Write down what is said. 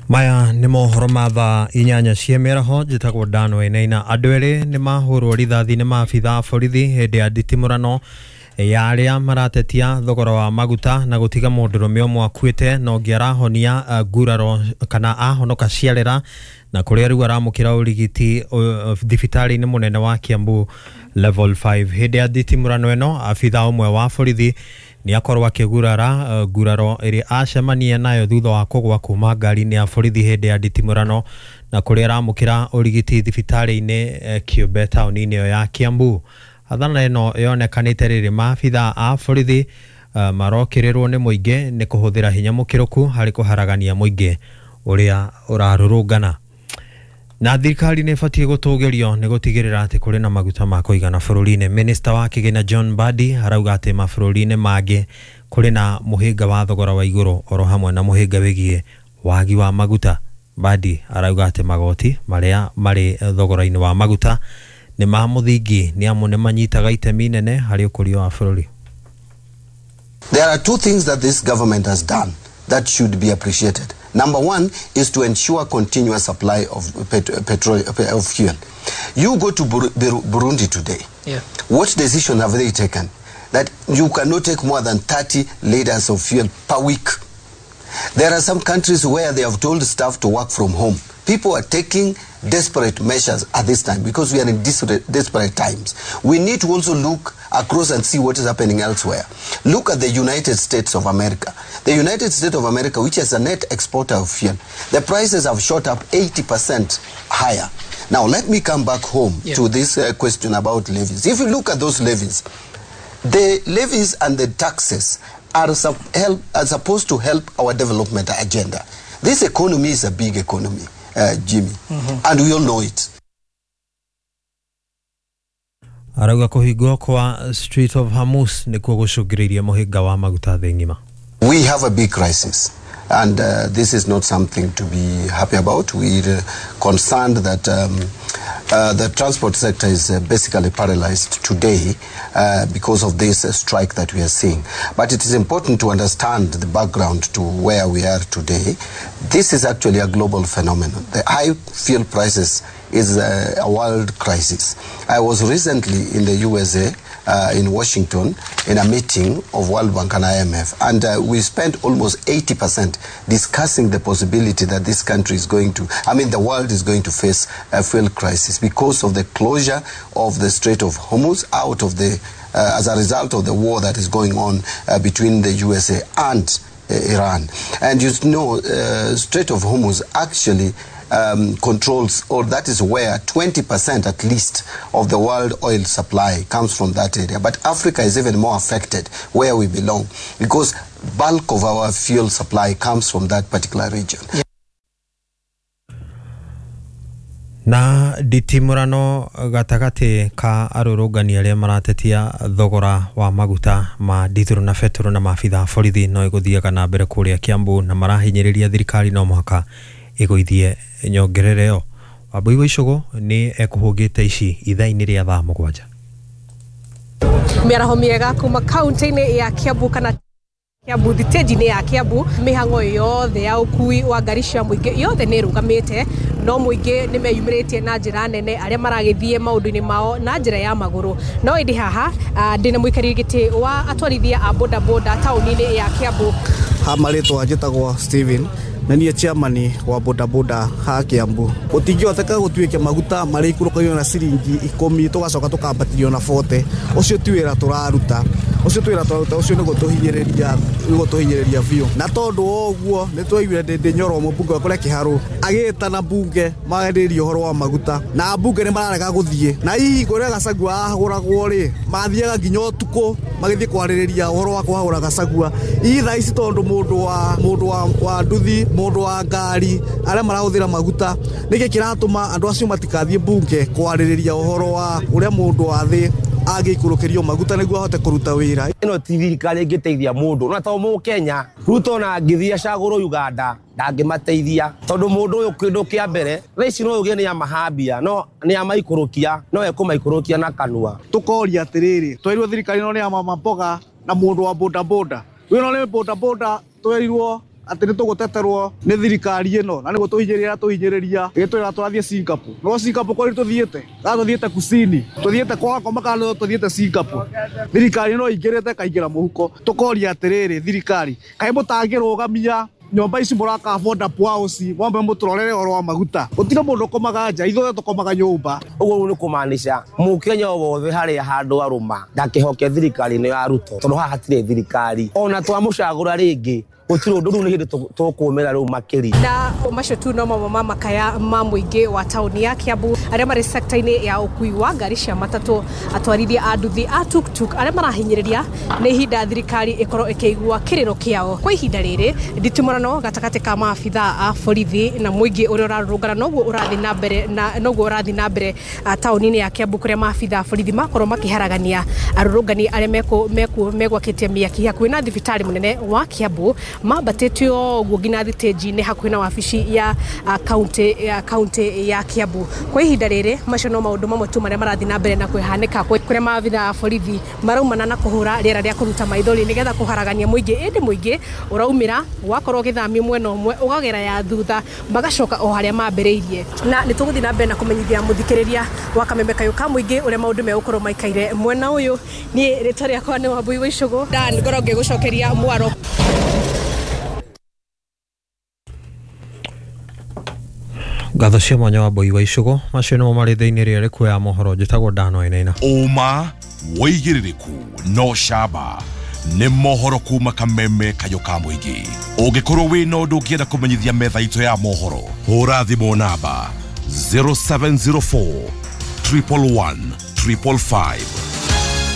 Maya nĩ mohoro ma thaa 8 cia mĩaraho. Njĩtagwo Dan Wainaina. Andũ erĩ nĩ mahũrwo rithathi nĩ maabitha a borithi hĩndĩ ya nditimũrano ya arĩa maratetia thogora wa maguta na gũtiga mũndũrũme ũmwe akuĩte na ũngĩ arahonia nguraro kana ahonoka ciarera na kũrĩa rĩu aramũkĩra ũrigiti thibitarĩ-inĩ mũnene wa Kiambu level 5. Hĩndĩ ya nditimũrano ĩno abitha ũmwe wa borithi nĩ akorwo akĩgurara nguraro ĩrĩa acemania nayo thutha wa kũgwa kuma ngari-inĩ ya borithi hĩndĩ ya nditimũrano na kũrĩa aramũkĩra ũrigiti thibitarĩ-inĩ kĩũmbe taũni-inĩ ĩyo ya Kiambu. Hathara ĩno yonekanĩte rĩrĩ maabitha a borithi marokĩrĩrwo nĩ mũingĩ nĩ kũhũthĩra hinya mũkĩrũku harĩ kũharagania mũingĩ ũrĩa ũrarũrũngana. Na thirikari nĩ ĩbatiĩ gũtũgĩrio nĩ gũtigĩrĩra atĩ kũrĩ na maguta ma kũigana bũrũri-inĩ. Minista wa kĩgĩna John Mbadi arauga atĩ mabũrũri-inĩ mangĩ kũrĩ na mũhĩnga wa thogora wa igũrũ oro hamwe na mũhĩnga wĩgiĩ wagi wa maguta. Mbadi arauga atĩ magoti marĩa marĩ thogora-inĩ wa maguta nĩ ma mũthingi nĩ amu nĩ manyitaga itemi inene harĩ ũkũria wa bũrũri. There are two things that this government has done that should be appreciated. Number one is to ensure continuous supply of petrol, of fuel. You go to Burundi today. Yeah. What decision have they taken? That you cannot take more than 30 liters of fuel per week. There are some countries where they have told staff to work from home. People are taking desperate measures at this time because we are in desperate times. We need to also look across and see what is happening elsewhere. Look at the United States of America. The United States of America, which is a net exporter of fuel, the prices have shot up 80% higher. Now, let me come back home to this question about levies. If you look at those levies, the levies and the taxes are supposed to help our development agenda. This economy is a big economy, Jimmy, and we all know it. Arauga kũhingwo kwa Strait of Hormuz nĩkuo gũcũngĩrĩirie mũhĩnga wa maguta thĩ ng'ima. We have a big crisis, and this is not something to be happy about. We're concerned that the transport sector is basically paralyzed today because of this strike that we are seeing. But it is important to understand the background to where we are today. This is actually a global phenomenon. The high fuel prices is a world crisis. I was recently in the USA, in Washington, in a meeting of World Bank and IMF, and we spent almost 80% discussing the possibility that this country is going to, I mean, the world is going to face a fuel crisis because of the closure of the Strait of Hormuz out of the, as a result of the war that is going on between the USA and Iran. And you know, Strait of Hormuz actually controls, or that is where 20% at least of the world oil supply comes from that area. But Africa is even more affected where we belong because bulk of our fuel supply comes from that particular region. Yeah. Na nditimũrano gatagatĩ ka arũrũngani arĩa maratetia thogora wa maguta ma ndithũrũ na betũrũ na maabitha a borithi no ĩgũthiaga na mbere kũrĩa Kiambu na marahinyĩrĩria thirikari no mũhaka ĩgũithie nyongerera ĩyo. Wambui wa Icũgũ nĩ ekũhũngĩte ici ithaa-inĩ rĩa thaa 7. Mĩaraho mĩega kuma kaunti-inĩ ya Kiambu kana Kiambu thitĩnji-inĩ ya Kiambu, mĩhang'o yothe ya ũkui wa ngari cia mũingĩ yothe nĩ ĩrũgamĩte, no mũingĩ nĩ meyumĩrĩtie na njĩra nene arĩa maragĩthiĩ maũndũ-inĩ mao na njĩra ya magũrũ. No ĩndĩ haha ndĩna mũikarĩri gĩtĩ wa atwarithia a bodaboda taũni-inĩ ya Kiambu. Ha marĩtwa njĩtagwo Steven na niĩ chairman wa bodaboda ha Kiambu. Gũtingĩhoteka gũtuĩke maguta marĩa ikũrũkagio na ciringi 10 tũgacoka tũkambatĩrio na 40. Ũcio ti wĩra tũraruta. Ũcio ti wĩra tũraruta, ũcio nĩ gũtũhinyĩrĩria biũ. Na tondũ wa ũguo nĩ twaiguire Ndindi Nyoro mũmbunge wa kũrĩa Kĩharũ agĩtana mbunge maarĩrĩrie ũhoro wa maguta, na mbunge nĩ mararega gũthiĩ. Na hihi kũrĩa Gachagua ahagũragwo rĩ, mathiaga nginya ũtukũ magĩthiĩ kwarĩrĩria ũhoro wa kũhagũra Gachagua. Hihi thaa ici tondũ mũndũ wa nduthi, mũndũ wa ngari arĩa marahũthĩra maguta, nĩkĩ kĩratũma andũ acio matikathiĩ mbunge kwarĩrĩria ũhoro wa ũrĩa mũndũ wa thĩ angĩikũrũkĩrio maguta nĩguo ahote kũruta wĩra? Ĩno ti thirikari ĩngĩteithia mũndũ, na to Mũkenya. Ruto na angĩthiĩ acagũrwo Uganda ndangĩmateithia tondũ mũndũ ũyũ kĩndũ kĩa mbere thaa ici no uge nĩ amahambia, no nĩ amaikũrũkia, no ekũmaikũrũkia na kanua. Tũkoria atĩrĩrĩ, twerirwo thirikari ĩno nĩ ya mama mboga na mũndũ wa bodaboda. Wĩno nĩ bodaboda twerirwo Atĩ nĩ tũgũteterwo nĩ thirikari ĩno na nĩ gũtũhinyĩrĩria tũhinyĩrĩria ĩgĩtwĩra tũrathiĩ Singapore. No Singapore kwani tũthiĩte? Kana tũthiĩte kusini? Tũthiĩte kwa ngoma kana tũthiĩte Singapore? Thirikari no ingĩrĩte ĩkaingĩra mũhuko. Tũkoria atĩrĩrĩ, thirikari, kaĩ mũtangĩrũgamia nyũmba ici mũraka affordable house, mwambe mũtũrorere ũhoro wa maguta. Gũtirĩ mũndũ ũkomaga nja, ithuothe tũkomaga nyũmba. Ũguo rĩu nĩ kũmaanisha mũkenya o wothe harĩa handũ arũma ndakĩhoke thirikari ĩno ya Ruto, tondũ haha hatirĩ thirikari. Ona twamũcagũra rĩngĩ gũtirĩ ũndũ, rĩu nĩ hĩndĩ tũkũmĩra rĩu makĩria. Na macio tu no mamwe ma makaya ma mũingĩ wa taũni ya Kiambu arĩa marĩ sekta-inĩ ya ũkui wa ngari cia matatũ, atwarithia a nduthi, a tuktuk, arĩa marahinyĩrĩria nĩ ihinda thirikari ĩkorwo ĩkĩigua kĩrĩro kĩao. Kwa ihinda rĩrĩ, nditimũrano gatagatĩ ka maabitha a borithi na mũingĩ ũrĩa ũrarũrũngana noguo ũrathiĩ na mbere, na noguo ũrathiĩ na mbere taũni-inĩ ya Kiambu, kũrĩa maabitha a borithi makorwo makĩharagania arũrũngani arĩa megwakĩtie mĩaki hakuhĩ na thibitarĩ mũnene wa Kiambu, mambatĩte ũguo nginya thitĩnji-inĩ hakuhĩ na wabici ya kaunti ya Kiambu. Kwa ihinda rĩrĩ, macio no maũndũ mamwe tu marĩa marathiĩ na mbere na kwĩhanĩka, kũrĩa maabitha a borithi maraumana na kũhũra rĩera rĩa kũruta maithori nĩgetha kũharagania mũingĩ, ĩndĩ mũingĩ ũraumĩra wakorwo ũgĩthamio mwena ũmwe ũgagera ya thutha, magacoka o harĩa mambĩrĩirie. Na nĩ tũgũthiĩ na mbere na kũmenyithia mũthikĩrĩria wa Kameme Kayũ ka mũingĩ ũrĩa maũndũ megũkorwo maikaire mwena ũyũ. Niĩ rĩtwa rĩakwa nĩ Wambui wa Icũgũ, Dan ngorwo ngĩgũcokeria mwaro. Ngatho cia mwanya wa Mbui wa Icũgũ. Macio nĩmo marĩ thĩinĩ rĩrĩa rĩkuoya mohoro. Njĩtagwo Dano Wainaina. Ũma, wĩigĩrĩrĩku no camba nĩ mohoro kuma Kameme Kayũ ka mũingĩ. Ũngĩkorwo wĩna ũndũ ũngĩenda kũmenyithia metha itũ ya mohoro, hũra thimũ namba 0704 111 555.